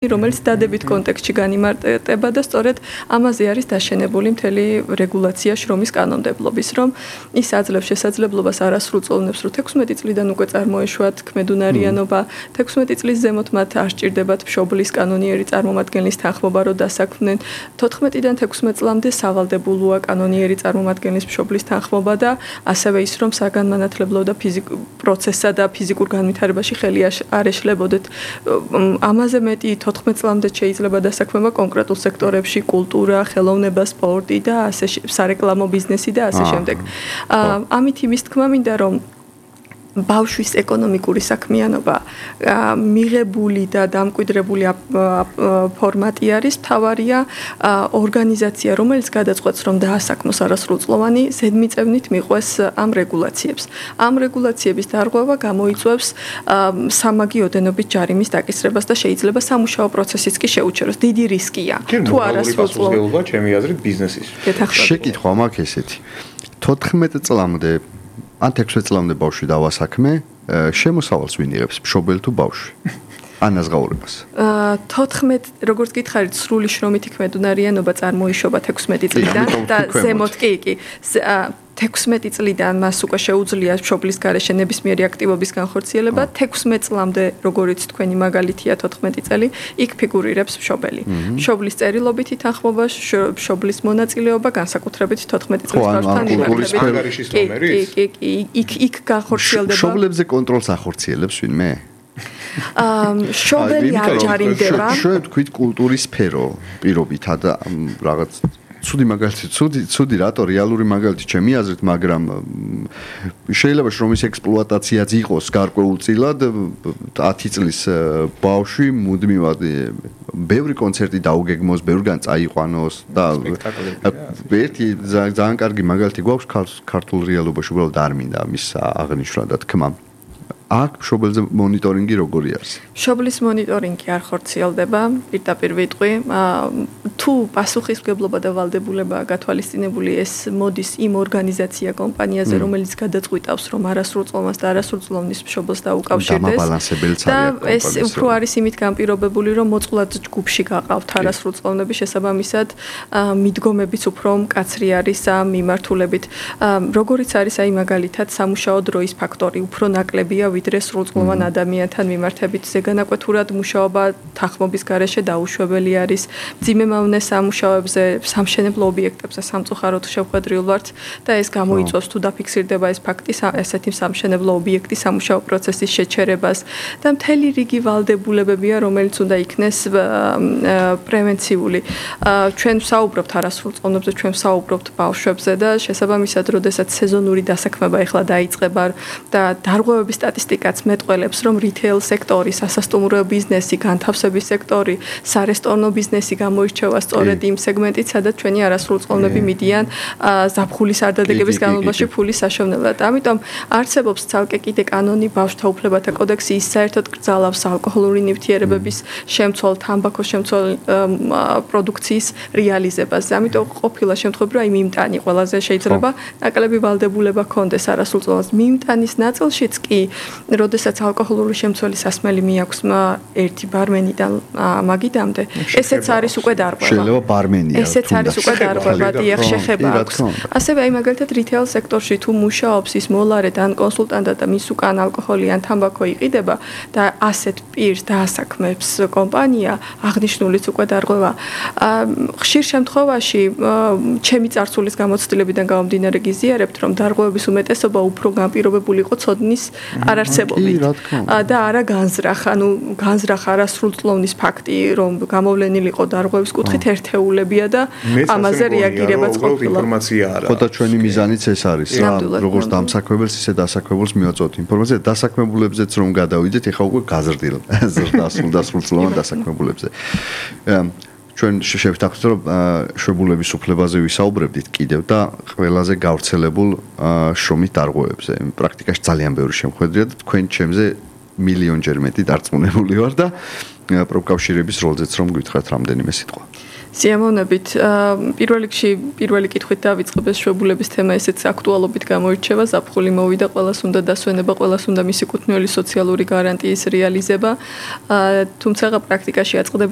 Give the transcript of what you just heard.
რომელიც დადებით კონტექსტში განიმარტება და სწორედ ამაზე არის დაშენებული მთელი რეგულაცია შრომის კანონმდებლობის, რომ ის აძლევს შესაძლებლობას არასრულწლოვნებს, რომ 16 წლიდან უკვე წარმოეშვათ ქმედუნარიანობა, 16 წლის ზემოთ მათ არ სჭირდებათ მშობლის კანონიერი წარმომადგენლის თანხმობა, რომ დასაქმდნენ, 14-დან 16 წლამდე სავალდებულოა კანონიერი წარმომადგენლის მშობლის თანხმობა და ასევე ის, რომ საგანმანათლებლო და პროცესსა და ფიზიკურ განვითარებაში ხელი არ ეშლებოდეთ. ამაზე მეტი 14 წლამდე შეიძლება დასაქმება კონკრეტულ სექტორებში, კულტურა, ხელოვნება, სპორტი და ასე სარეკლამო ბიზნესი და ასე შემდეგ. ამით იმის თქმა მინდა, რომ ბავშვის ეკონომიკური საქმიანობა მიღებული და დამკვიდრებული ფორმატი არის, თავარია ორგანიზაცია, რომელიც გადაწყვეტს, რომ დაასაქმოს არასრულწლოვანი, ზედმიწევნით მიყვეს ამ რეგულაციებს. ამ რეგულაციების დარღვევა გამოიწვევს სამაგი ოდენობის ჯარიმის დაკისრებას და შეიძლება სამუშაო პროცესიც კი შეუჩეროს. დიდი რისკია. თუ არასრულწლოვანი, ჩემი აზრით, ბიზნესის. შეკითხვა მაქვს ესეთი. 14 წლამდე ან 16 წლამდე ბავშვი დავასაქმე, შემოსავალს ვინ იღებს, მშობელი თუ ბავშვი? ანაზღაურებას. 14, როგორც გითხარით, სრული შრომითი ქმედუნარიანობა წარმოიშობა 16 წლიდან და ზემოთ კი 16 წლიდან მას უკვე შეუძლია მშობლის გარეშე ნებისმიერი აქტივობის განხორციელება, 16 წლამდე, როგორიც თქვენი მაგალითია 14 წელი, იქ ფიგურირებს მშობელი. მშობლის წერილობითი თანხმობა, მშობლის მონაწილეობა, განსაკუთრებით 14 წლის ბავშვთან მიმართებით. იქ განხორციელდება. მშობლებზე კონტროლს ახორციელებს ვინმე? მშობელი არ ჯარიმდება. შევ თქვით კულტურის სფერო პირობითა და რაღაც ცუდი მაგალითი, ცუდი რატო რეალური მაგალითი ჩემი აზრით, მაგრამ შეიძლება შრომის ექსპლუატაციაც იყოს გარკვეულწილად 10 წლის ბავშვი მუდმივად ბევრი კონცერტი დაუგეგმოს, ბევრგან წაიყვანოს და ერთი ძალიან კარგი მაგალითი გვაქვს ქართულ რეალობაში, უბრალოდ არ მინდა მის აღნიშვნა და თქმა. აქ მშობელზე მონიტორინგი როგორი არის? მშობლის მონიტორინგი არ ხორციელდება, პირდაპირ ვიტყვი. თუ პასუხისმგებლობა და ვალდებულებაა გათვალისწინებული, ეს მოდის იმ ორგანიზაცია კომპანიაზე, რომელიც გადაწყვიტავს, რომ არასრულწლოვანს და არასრულწლოვნის მშობელს დაუკავშირდეს. და ეს უფრო არის იმით განპირობებული, რომ მოწყვლად ჯგუფში გაყავთ არასრულწლოვნები, შესაბამისად მიდგომებიც უფრო მკაცრი არის ამ მიმართულებით. როგორიც არის აი მაგალითად სამუშაო დროის ფაქტორი, უფრო ნაკლებია ვიდრე სრულწლოვან ადამიანთან მიმართებით. ზეგანაკვეთურად მუშაობა თანხმობის გარეშე დაუშვებელი არის. მძიმე სამუშაოებზე, სამშენებლო ობიექტებზე სამწუხაროდ შევხვედრილ ვართ და ეს გამოიწვევს თუ დაფიქსირდება ეს ფაქტი ესეთი სამშენებლო ობიექტი სამუშაო პროცესის შეჩერებას და მთელი რიგი ვალდებულებებია, რომელიც უნდა იქნეს პრევენციული. ჩვენ ვსაუბრობთ არასრულწლოვნებზე, ჩვენ ვსაუბრობთ ბავშვებზე და შესაბამისად, როდესაც სეზონური დასაქმება ეხლა დაიწყება და დარღვევების სტატისტიკაც მეტყველებს, რომ რიტეილ სექტორი, სასასტუმრო ბიზნესი, განთავსების სექტორი, სარესტორნო ბიზნესი გამოირჩევა სწორედ იმ სეგმენტით, სადაც ჩვენი არასრულწლოვნები მიდიან ზაფხულის არდადეგების განმავლობაში ფულის საშოვნელად. ამიტომ არსებობს ცალკე კიდე კანონი ბავშვთა უფლებათა კოდექსი, ის საერთოდ კრძალავს ალკოჰოლური ნივთიერებების შემცველ, თამბაქოს შემცველ პროდუქციის რეალიზებას. ამიტომ ყოფილა შემთხვევები, რომ მიმტანი ყველაზე შეიძლება ნაკლები ვალდებულება ჰქონდეს არასრულწლოვანს. მიმტანის ნაწილშიც კი, როდესაც ალკოჰოლური შემცველი სასმელი მიაქვს ერთი ბარმენიდან მაგიდამდე, ესეც არის უკვე დარღვევა. შეიძლება ბარმენია. ესეც არის უკვე დარღვევა, დიახ, შეხება აქვს. ასევე აი მაგალითად რიტეილ სექტორში თუ მუშაობს ის მოლარედ ან კონსულტანტად და მის უკან ალკოჰოლი ან თამბაქო იყიდება და ასეთ პირს დაასაქმებს კომპანია, აღნიშნულიც უკვე დარღვევა. ხშირ შემთხვევაში ჩემი წარსულის გამოცდილებიდან გამომდინარე გიზიარებთ, რომ დარღვევების უმეტესობა უფრო განპირობებული იყო ცოდნის არარსებობით და არა განზრახ, ანუ განზრახ არასრულწლოვნის ფაქტი, რომ გამოვლენილიყო დარღვევის კუთხით ერთეულებია და ამაზე რეაგირებაც ყოფილა. ხოდა ჩვენი მიზანიც ეს არის, როგორც დამსაქმებელს, ისე დასაქმებულს მივაწვევთ ინფორმაცია, დასაქმებულებზეც რომ გადავიდეთ, ეხლა უკვე გაზრდილ დასრულწლოვან დასაქმებულებზე. ჩვენ შევთანხმდით, რომ შვებულების უფლებაზე ვისაუბრებდით კიდევ და ყველაზე გავრცელებულ შრომით დარღვევებზე. პრაქტიკაში ძალიან ბევრი შემოხვედრია და თქვენ ჩემზე მილიონჯერ მეტი დარწმუნებული ვარ და პროფკავშირების როლზეც რომ გითხრათ რამდენიმე სიტყვა. სიამოვნებით. პირველ რიგში პირველი კითხვით დავიწყებ, ეს შვებულების თემა ესეც აქტუალობით გამოირჩევა, ზაფხული მოვიდა, ყველას უნდა დასვენება, ყველას უნდა მისი კუთვნილი სოციალური გარანტიის რეალიზება. თუმცა პრაქტიკაში აწყდებიან